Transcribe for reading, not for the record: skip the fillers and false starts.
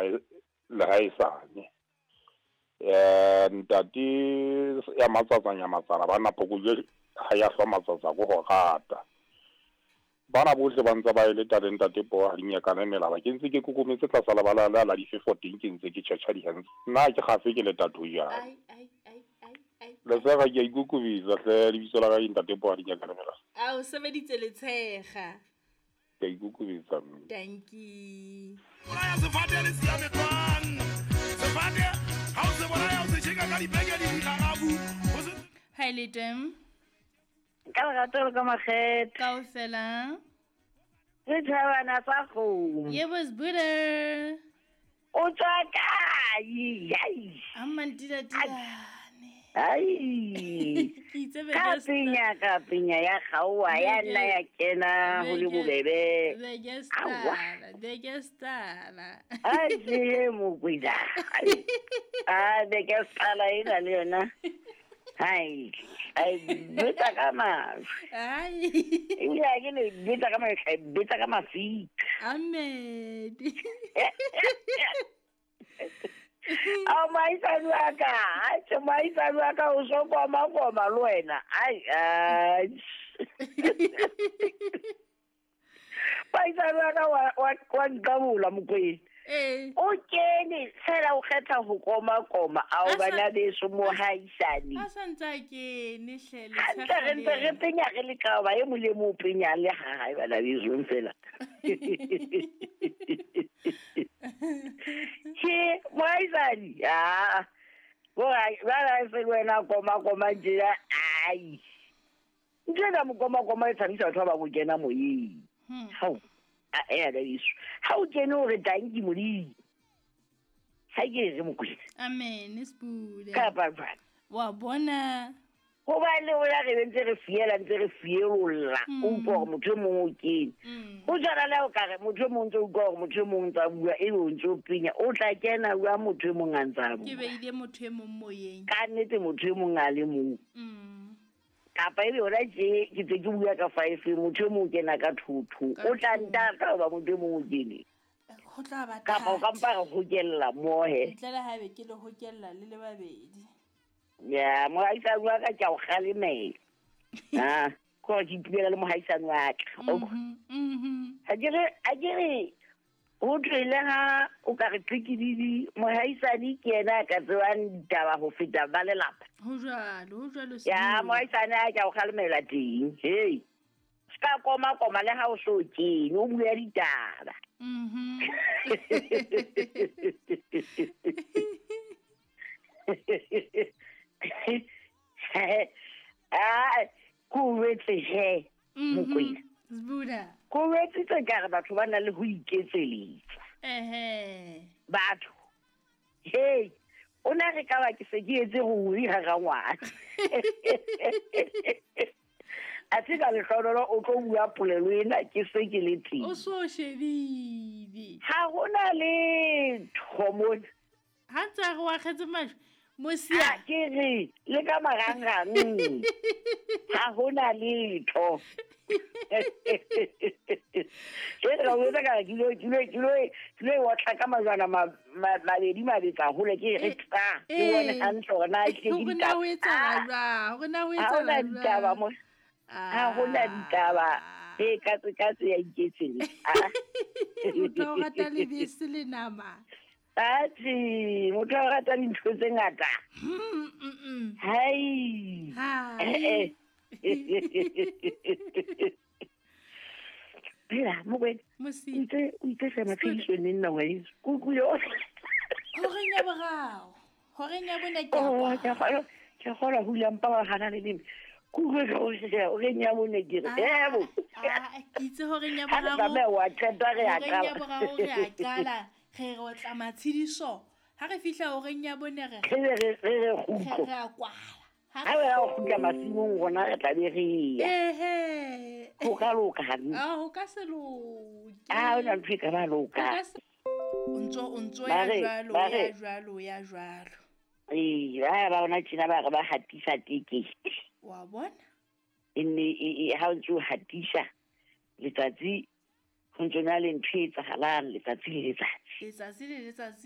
Le ha e sane. Ntate ya matsatsa nyamatsana bana phokojwe ha ya hlwa matsatsa ko go rata. Bana bohle ba ntse ba e leta le ntate Poo ha di nyakane melaba. Ke ntse ke kokometse tlasa lebala la la difefo teng ke ntse ke tjhetjha dihanse. Nna ke gafe ke leta thojane. Letshega ke a ikokobetsa hle lebitso la ka ke ntate Poo ha di nyakane melaba. A o sebeditse letshega. Ke a ikokobetsa mme. Dankie. Bolaya sefate le siame jwang? Sefate ha o se bolaya o se tjheka ka dipeke le dikgarafu. O se Hi le teng. Ka lerato le ka makgethe. Kaofela. Setjhabana sa kgomo. Yebo Sbuda. O tswa kae? Ai. A mantitatilane. Ai. Ke itse Ka penya ka penya ya kgaoha ya nna ya kena ho le bobebe. Beke Aowa. stala, beke stala. A tje mokwena. A beke stala ena le yona. Hai, ai betsa ka majwe. Ai. Ebile ha ke no e betsa ka majwe, e betsa ka mafika. Amen. Ao moahisani wa ka, atjhe moahisani wa ka o so koma koma le wena. Ai, ai. Moahisani wa ka wa nqabola Mokwena. Ee. O kene fela o kgetha ho koma koma ao bana beso mohaisane. A sa ntse a kene hle Hantle re ntse re penya re le ka ba e mong le mong o penya le ha hae bana beso fela. Ke mohaisane ah. Bo ba ba se le wena koma koma tjena ai. Ntho ena mokoma koma e tshabisa batho ba bang ho kena moyeng. Hao. A ea ka beso. Ha o kene o re tanki Modimo. Ha ke re Mokwena. Amen Sbuda. Kapa jwang? Wa bona. Hobane rona re be ntse re fiela ntse re fielolla. O utlwa hore motho e mong o kene. Ho tshwana le ha o ka re motho e mong ntse o utlwa hore motho e mong ntse a bua ebe o ntse o penya. O tla kena jwang motho e mong a ntse a Ke bua? beile motho e mong moyeng. Ka nnete motho e mong a le mong. Kapa ebe hona tje ke tse ke bua ka 5 motho e mong o kena ka 2 2. Ka O tla two. ntata hoba motho e mong o kene. Ho tla ba Kapa o ka thata. mpa re hokella mohe. Ntle le haebe ke le hokella le le babedi. Ya, mohaisane wa ka ke a o kgalemela. Ah, ke hore ke itumela le mohaisane wa ka. Ha ke re ho thwe le ha o ka re qhikididi, mohaisane ke yena a ka tsebang ditaba ho feta ba lelapa. Ho jwalo, ho jwalo Ya, Sbuda. mohaisane a ke a o kgalemela teng. Hei. Ska koma koma le ha o so kene, o bua ditaba. Ah, ko wetse he, Mokwena. Sbuda. Ko wetsitse ka re batho ba na le ho iketseletsa. Ehe. Batho. Hey, o na re ka ba ke se ke etse ruri hara ngwana. A tse ka lehlohonolo o tlo bua polelo ena ke se ke le teng. O so shebile. Ha hona letho mona. Ha ntse a re wa kgetse majwe, Mosia. Ha ke re le ka marangrang. Ha hona letho. Ke re o etsa ka re ke lo otla ka majwana mabedi mabetsa hole ke re tsa. Ke bone hantle hore na ke Hore na ho etsahala jwang, hore na ho Ha hona etsahala ditaba jwang. mo. Ha hona ditaba. E katse katse ya iketsetsa. Ah. Motho o rata lebese le nama. Atjhe, motho o rata dintho tse ngata. Hai. Hai. Phela, Mokwena. Mosi. O itse hle maphediso neng nna ngwaneso. Ke utlwile o- Horeng ya boraro. Horeng ya bone ke a Oh, kwala. ke a kgolwa, ke a kgolwa ho hula mpa wa hana le leme. Ke utlwe ka o re, horeng ya bone ke re, ebo. Ah, ke itse horeng ya Ha re boraro. tsamaya wa qeta re a Horeng ya qala. boraro re a qala. Re re otla matshediso. Ha re fihla horeng ya bone re Re be re re kgutlo. Re a kwala. Ha re ya kgutla masimong rona re tla be re ya. Ehe. Ho ka loka hantle. Ah, ho ka se loke. Ah, hona ntho e ka ba loka. Ho ka se- O ntso Ba ya re, jwalo, ba ya re. jwalo, ya jwalo. Ee, ba ba bona tjena ba re ba hatisa tekete. Wa bona? E nne e, ha o ntse o hatisa letsatsi Ho ntso na le ntho e etsahalang letsatsi le letsatsi. Letsatsi le letsatsi.